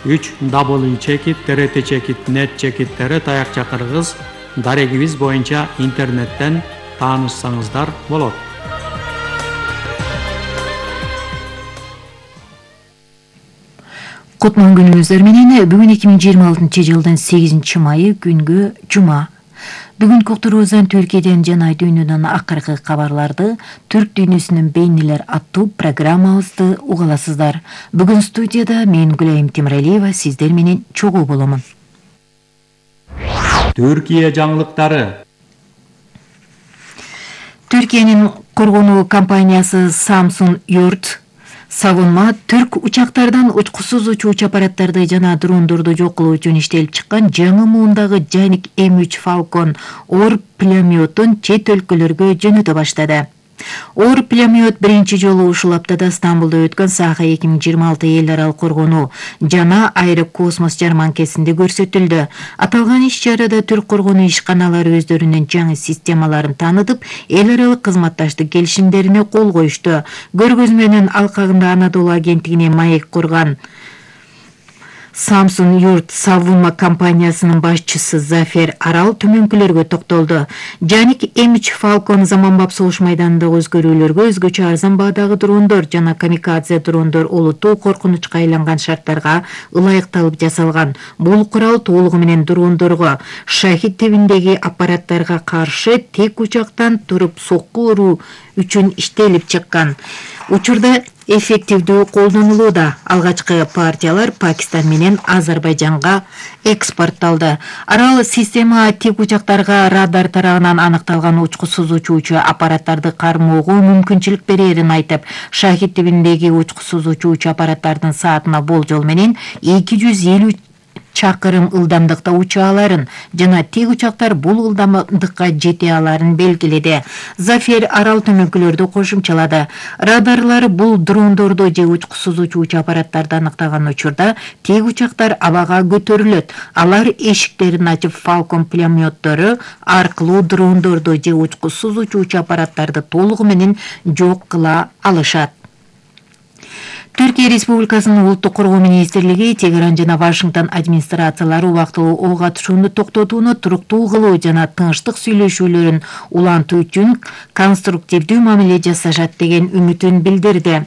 www.trt-net таякча кыргыз дарегибиз боюнча интернеттен таанышсаңыздар болот. Кутман күнүңүздөр менен. Бүгүн 2026 жылдын 8 майы күнгө жума. Бүгүнкү уктуруубуздан Түркияден жана дүйнөдөн акыркы кабарларды Түрк дүйнөсүнүн бейнелер аттуу программабызды угаласыздар. Бүгүн студияда мен Гүлайым Темиралиева сиздер менен чогуу боломун. Түркия жаңылыктары. Түркиянын коргонуу компаниясы Samsung Yurt савунма түрк учактардан учкусуз учуучу аппараттарды жана дрондорду жок кылуу үчүн иштелип чыккан жаңы муундагы Janik M3 Falcon оор пулеметин чет өлкөлөргө жөнөтө баштады. Оор пулемет биринчи жолу ушул аптада Стамбулда өткөн Саха 2026 эл аралык коргонуу жана аэрокосмос жарманкесинде көрсөтүлдү. Аталган иш-чарада түрк коргонуу ишканалары өздөрүнүн жаңы системаларын таанытып, эл аралык кызматташтык келишимдерине кол коюшту. Көргөзмөнүн алкагында Анадолу агенттигине маек курган Samsung Yurt савунма компаниясынын башчысы Зафер Арал төмөнкүлөргө токтолду. Janik M3 Falcon заманбап согуш майданындагы өзгөрүүлөргө өзгөчө арзан баадагы дрондор жана камикадзе дрондор олуттуу коркунучка айланган шарттарга ылайыкталып жасалган. Бул курал толугу менен дрондорго, шахид тибиндеги аппараттарга каршы тек учактан туруп сокку уруу үчүн иштелип чыккан. Учурда эффективдүү колдонулууда. Алгачкы партиялар Пакистан менен Азербайжанга экспортталды. Арал система тик учактарга радар тарабынан аныкталган учкусуз учуучу аппараттарды кармоого мүмкүнчүлүк берерин айтып, шахид тибиндеги учкусуз учуучу аппараттардын саатына болжол менен 250 чакырым ылдамдыкта уча аларын жана тик учактар бул ылдамдыкка жете аларын белгиледи. Зафер Арал төмөнкүлөрдү кошумчалады. Радарлар бул дрондорду же учкусуз учуучу аппараттарды аныктаган учурда тик учактар абага көтөрүлөт. Алар эшиктерин ачып Falcon пулеметтору аркылуу дрондорду же учкусуз учуучу аппараттарды толугу менен жок кыла алышат. Түркия Республикасынын улуттук коргоо министрлиги Тегеран жана Вашингтон администрациялары убактылуу ок атышууну токтотууну туруктуу кылуу жана тынчтык сүйлөшүүлөрүн улантуу үчүн конструктивдүү мамиле жасашат деген үмүтүн билдирди.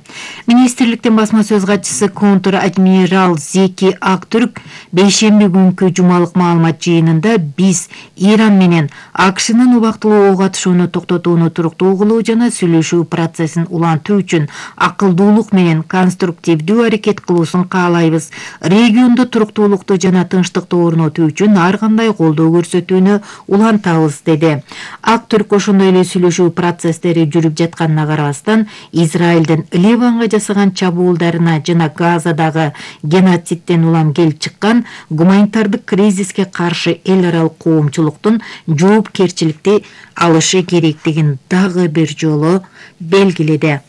Министрликтин басма сөз катчысы контр-адмирал Зеки Актүрк бейшемби күнкү жумалык маалымат жыйынында биз Иран менен АКШнын убактылуу ок атышууну токтотууну туруктуу кылуу жана сүйлөшүү процессин улантуу үчүн акылдуулук менен конструктивдүү аракет кылуусун каалайбыз. Региондо туруктуулукту жана тынчтыкты орнотуу үчүн ар кандай колдоо көрсөтүүнү улантабыз, деди. Актүрк ошондой эле сүйлөшүү процесстери жүрүп жатканына карабастан, Израилдин Ливанга жасаган чабуулдарына жана Газадагы геноцидтен улам келип чыккан гуманитардык кризиске каршы эл аралык коомчулуктун жоопкерчиликти алышы керектигин дагы бир жолу белгиледи.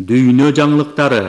Дүйнө жаңылыктары.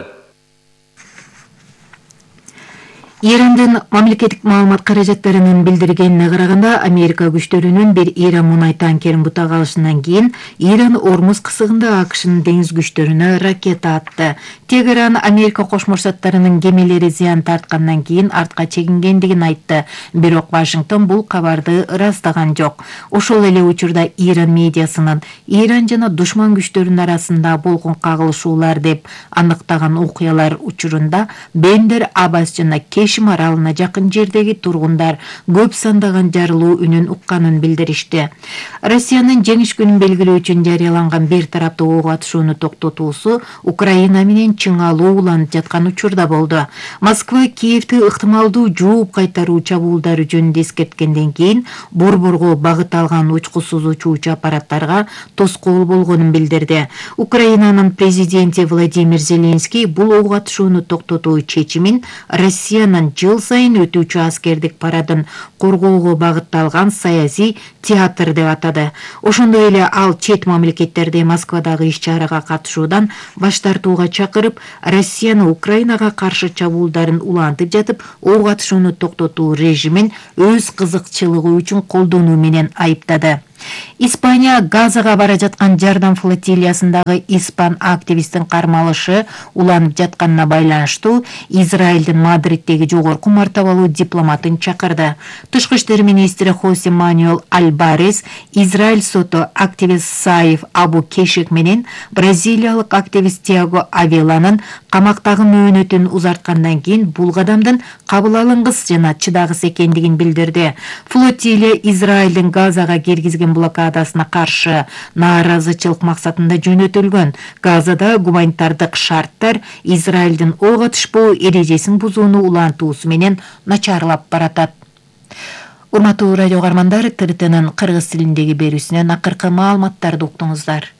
Ирандын мамлекеттик маалымат каражаттарынын билдиргенине караганда, Америка күчтөрүнүн бир Иран мунай танкерин бутага алышынан кийин Иран Ормуз кысыгында АКШнын деңиз күчтөрүнө ракета атты. Тегеран Америка Кошмо Штаттарынын кемелери зыян тарткандан кийин артка чегингендигин айтты. Бирок Вашингтон бул кабарды ырастаган жок. Ошол эле учурда Иран медиасынын Иран жана душман күчтөрүнүн арасында болгон кагылышуулар деп аныктаган окуялар учурунда Бендер Аббас жана Кешим аралына жакын жердеги тургундар көп сандаган жарылуу үнүн укканын билдиришти. Россиянын жеңиш күнүн белгилөө үчүн жарыяланган бир тараптуу ок атышууну токтотуусу Украина менен чың алуу уланып жаткан учурда болду. Москва Киевти ыктымалдуу жооп кайтаруу чабуулдары жөнүндө эскерткенден кийин борборго багыт алган учкусуз учуучу аппараттарга тоскоол болгонун билдирди. Украинанын президенти Владимир Зеленский бул ок атышууну токтотуу чечимин Россиянын жыл сайын өтүүчү аскердик парадын коргоого багытталган саясий театр деп атады. Ошондой эле ал чет мамлекеттерде Москвадагы иш-чарага катышуудан баш тартууга чакырып, Россияны Украинага каршы чабуулдарын улантып жатып, ок атышууну токтотуу режимин өз кызыкчылыгы үчүн колдонуу менен айыптады. Испания Газага бара жаткан жардам флотилиясындагы испан активисттин кармалышы уланып жатканына байланыштуу Израилдин Мадриддеги жогорку мартабалуу дипломатын чакырды. Тышкы иштер министри Хосе Мануэл Альбарес Израиль соту активист Саиф Абу Кешек менен бразилиялык активист Тиаго Авеланын камактагы мөөнөтүн узарткандан кийин бул кадамдын кабыл алынгыс жана чыдагыс экендигин билдирди. Флотилия Израилдин Газага киргизген блокадасына каршы нааразычылык максатында жөнөтүлгөн. Газада гуманитардык шарттар Израилдин ок атышпоо эрежесин бузууну улантуусу менен начарлап баратат. Урматтуу радио каармандар, ТРТнын кыргыз тилиндеги берүүсүнөн акыркы маалыматтарды уктуңуздар.